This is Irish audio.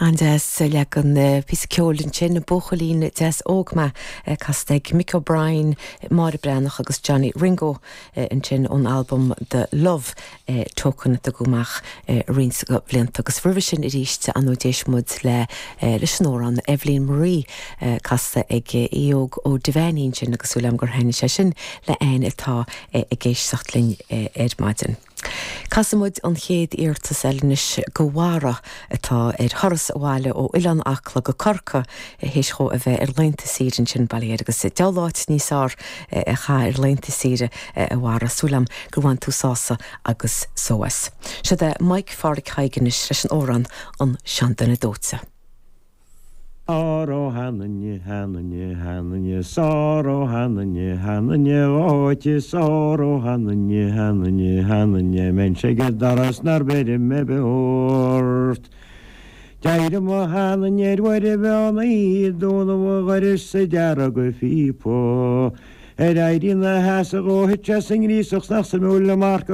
An-deas leagan píosa ceoil ansin, Buachaillín Deas Óg Mé, casta ag Mick O'Brien, Máire Breathnach agus Johnny Ringo ansin ón albam The Love Token a tugadh amach roinnt blianta agus roimhe sin arís ar ndóigh d'éist muid le leis an amhrán Eibhlín Marie casta ag Aodh Óg Ó Duibheannaigh ansin agus súil agam gur thaitnigh sé sin le éinne atá ag éisteacht linn ar maidin. Casfaidh muid an chéad iarratas eile anois go Bharra atá ar thuras abhaile ó Oileán Acla go Corcaigh théis dhó a bheith ar laethanta saoire ansin, bail ó Dhia air agus diabhal áit níos fearr a chaitheamh ar laethanta saoire a Bharra. Súil agam gur bhain tú sásamh agus só as. Siod é Mike Pháraic Thaidhg anois leis an amhrán An Seanduine Dóite. Sár ó sheanduine, sheanduine, sheanduine, sár ó sheanduine, sheanduine dhóite, sár ó sheanduine, sheanduine, sheanduine, mbeinnse ag an doras nár bheireadh mé beo ort. D'éirigh mo sheanduine ar uair an mheán oíche, dúnadh an dhorais sa deargadh phíopa. Ar éirí ina sheasamh dhó, thit sé sa ngríosach 's nach suimiúil an marcach.